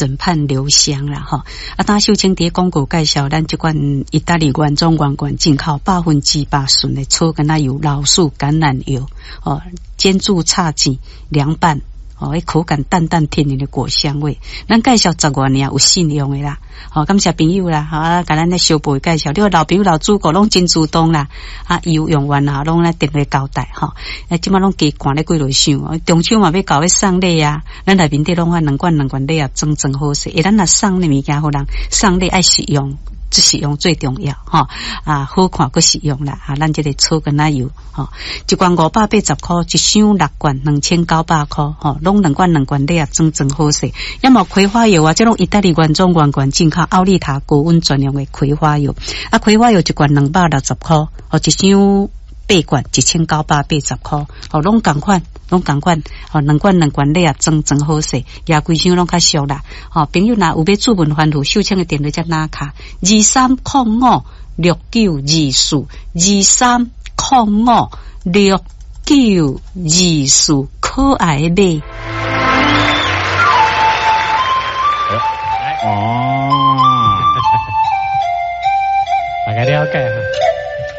枕畔留香啦吼。啊，當秀清佇廣告介紹咱這罐意大利原裝原罐進口100%純的草根仔油、老樹橄欖油，哦，煎煮炒煎涼拌。哦，彼口感淡淡甜甜的果香味，咱介紹十外年有信用的啦。吼，感謝朋友啦，吼，啊，共咱咧小步介紹，你看老朋友老主顧攏真主動啦，啊，油用完啊，攏來電話交代吼。啊，這馬攏加灌咧幾落箱，中秋嘛欲到欲送禮啊，咱內面底攏愛兩罐兩罐禮盒裝裝好勢，欸，咱若送禮物件予人，送禮愛實用。這實用最重要，吼啊，好看閣實用啦！啊，咱這個草根仔油，吼，一罐580箍，一箱六罐2900箍，吼，攏兩罐兩罐禮盒裝裝好勢。抑嘛葵花油啊，這攏意大利原裝原罐進口奧利塔高溫專用的葵花油，啊，葵花油一罐260箍，哦，一箱八罐1980箍，哦，攏仝款。攏仝款，吼，兩罐兩罐禮盒裝裝好勢，也規箱攏較俗啦。吼，朋友若有欲注文番號，秀清的電話才拿卡，23056924，23056924，可愛的買。